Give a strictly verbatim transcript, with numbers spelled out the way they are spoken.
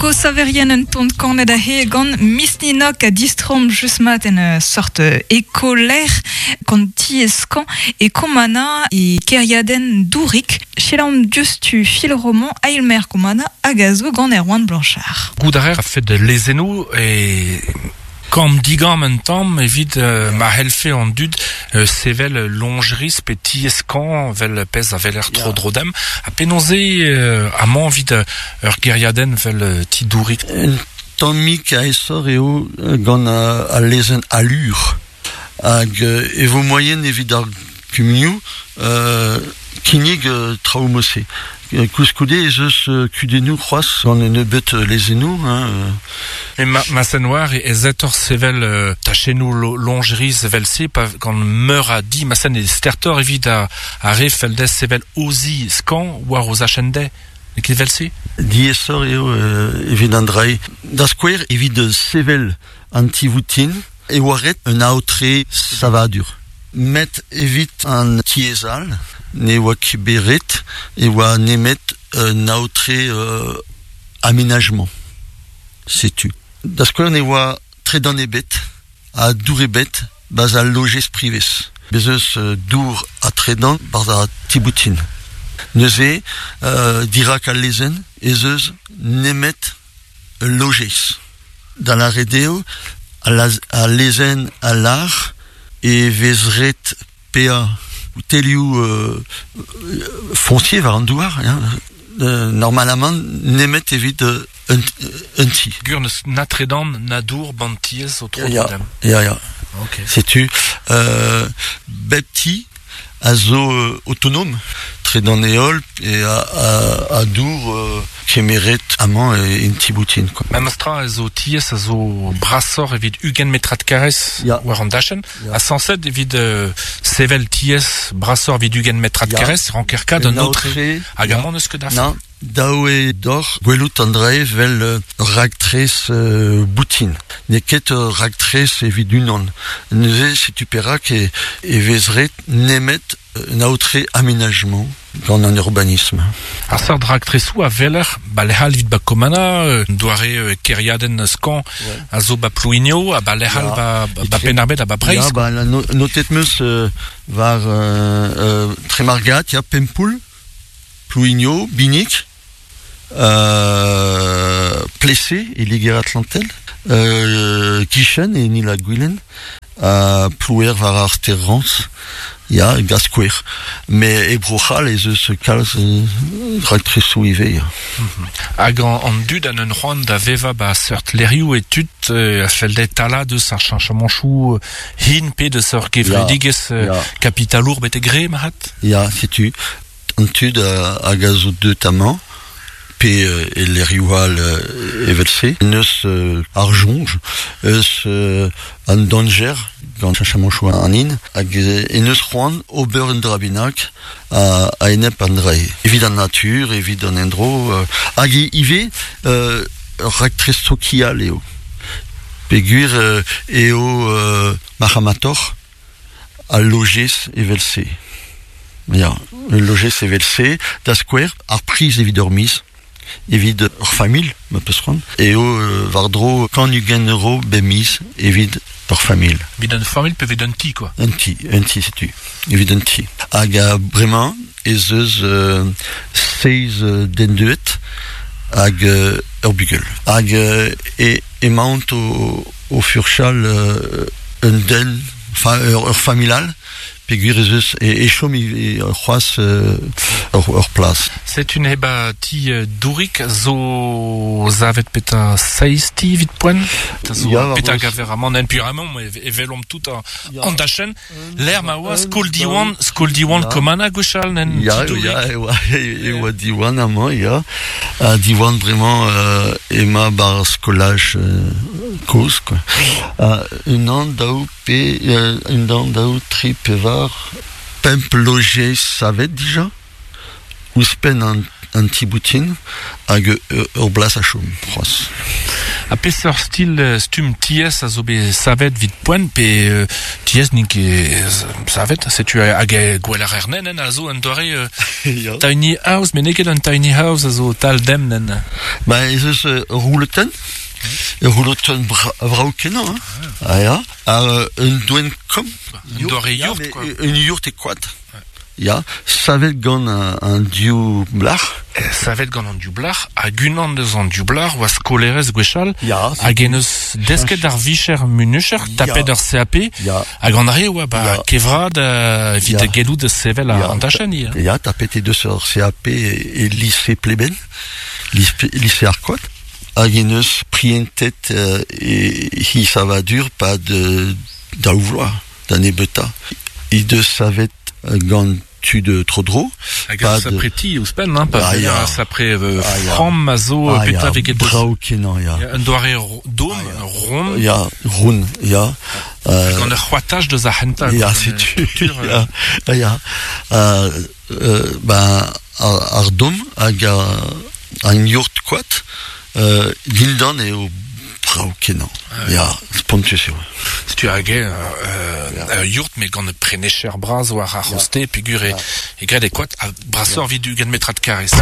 Go saverien un tont kanet a he gant misninok a distrom just mat en uh, sort uh, ekoler gant tieskan e komana e keriaden dourik chelam diustu fil roman ailmer komana agazo gant Erwan Blanchard. Goudarer a fait de lezenou e Kam digam un tamm evit euh, ma helfe an dud euh, sevel longeris pe tieskan vel pez a veler tro drodem a penonze euh, amañ evit ur geriaden vel ti dourik. Un tammik a esor eo gant a, a lezen allure hag e vo moyen evit ar kumunioù euh, kinnig euh, traoù mose. Koulskoude ez eus kudennoù c'hoazh gant un nebeut lezennoù. Hein. E ma, ma sen war e ez sevel euh, tachennoù longeris evel se pa gant meur a di ma sen e stertor evit a, a re feldez sevel ozi skan war oz achende. E ket evel se? Diesor eo euh, evit an drai. Da skouer evit sevel an tivoutin e oaret un aotre savadur. Met evit an tiezal ne oa ket beret e oa nemet un aotre euh, aménagement. Setu. Da skouer ne oa tredan ebet a dour ebet baz a logez privez. Bez eus dour a tredan barz a tiboutin. Neuze euh, dirak al lezen ez eus nemet logez. Da la redeo a, la, a lezen a lar e vezret pea telioù euh, foncier war an douar, hein, euh, normalement nemet evit euh, un, un ti. Gur neus na tredan na dour ban tiez o tro Ya, ya, ya. Ok. Setu, euh, bep ti a zo euh, autonome, tredan eol e a, a, a dour euh, kemeret amañ e en tiboutin, quoi. Memestra a zo tiez a zo brasor evit ugent metrat karrez Ya. war an dachen. Ya. A sanset evit euh, sevel tiez brasor evit ugent metrat Ya. karrez ranker kad un autre hag Ya. amañ neus ket af. Na, daou e dor gwelout an drae vel euh, raktres euh, boutin. Ne ket euh, raktres evit unan. Neuze setu perak e, e vezret nemet un aotre aménagement gant an urbanisme. Ar seurt raktresoù a veler ba lehal evit ba komana, euh, doare euh, keriaden skan a zo ba Plouigno, a ba lehal Ya. ba, ba, ba Penarbed a ba Breiz. Ya, ba, la no, notet meus euh, war euh, euh, Tremargat, ya, Pempoul, Plouigno, Binic, euh, Plessé et Liger-Atlantel, euh, Kichen et Nila Gwilen, euh, Plouer war ar Terrance, ya, Gaskouer. Mais e Brochal ez eus kalz euh, raktresoù ivez, ya. Hag an, an dud an un c'hoant da veva ba seurt lerioù e tud euh, a felde tala deus ar chanchamanchou hin pe deus ur gevredigez euh, Ya. kapitalour bete gre mahat. Ya, setu, an tud a, hag a zo deut amañ, pe euh, e lerioù all euh, evel-se, neus euh, ar jonj, eus euh, an danger gant chachamanchou an in, hag e neus c'hoant ober un drabinak a, a enep an drae. Evit an natur, evit an endro, euh, hag i- ivez euh, raktres sokial eo. Peogwir euh, eo euh, marc'hamator a logez evel-se. Ya, logez evel-se, da skouer, ar priz evit ur miz, evit ur familh, ma peus c'hoant, eo euh, war-dro kant ugent euro bemiz evit ur familh. Evit un familh pe evit un ti, quoi. Un ti, un ti, setu, evit un ti. Hag a bremañ ez eus euh, seiz euh, den deuet hag euh, ur bugel. Hag euh, e, emaont o, o furchal euh, un den, enfin ur, ur familh all, peogwir ez eus e, e chom e, c'hoazh euh, ur, ur plas. Setu heba ti euh, dourik zo zavet peta seiz ti evit poent. Ta zo Ya, war peta eus. gaver amañ en pur amañ e, e velomp tout an, Ya. an dachen. L'air ma oa skol diwan, skol diwan Ya. komana gwechall nen Ya, ti dourik. ya, e oa, e oa diwan amañ, ya. Ha diwan bremañ euh, ema bar skolaj euh, kozh, quoi. Ha, un an daou pe, euh, un an daou tri pevar, pemp logez savet dija, ouzhpenn an, an tiboutin, hag ur, ur blas a chom, c'hoazh. A peseurt stil stumm tiez a zo bet savet vid poent pe euh, tiez n'int ket savet, setu hag e gwell ar nen a zo un doare euh, tiny house, met n'eo ket un tiny house a zo tal dem nen. Ba ez eus uh, rouleten, ur roulotenn vrav kenañ, hein. Ah ya, ha un doen kom. Un doare yourt, quoi. Un yourt e koad. Ya, savet gant an, an diou blac'h. Savet gant an diou blac'h, hag unan deus an diou blac'h oa skolerez gwechall, Ya, hag en eus desket ar vicher munucher, tapet ur C A P, Ya. hag an re oa ba Ya. kevrad euh, evit Ya. gellout da sevel Ya. an dachenn ya. Ya, tapet e deus ur C A P e, e lycée Pleben, lycée, lycée Arcoat. Hag en eus prientet euh, e hi savadur pa de daou vloaz, da nebeuta. I deus savet gant tu de trodro. Hag Pas ar sapreti ouzhpenn, hein, pa Ah, ah, ya. ar sapre euh, Ah, ya. framm a zo Ah, petra ya, veget deus. brao kenañ, ya. Ya, un doare ro- dom, Ah, ya. rond. Ya, roun, ya. Euh, Gant ur c'hoataj deus ar c'hentañ. Ya, gant, setu. euh, culture, euh, Ya, ya. Euh, euh, ben, ar, ar dom hag ar, an yourt koad, euh, dindan eo brao kenañ. Ya, spontus eo. Setu hag eo, euh, euh, yourt, met gant prenecher bras war ar c'hoste, peogwir e, e graet e koad, ha brasoc'h evit ugent metrad karrez.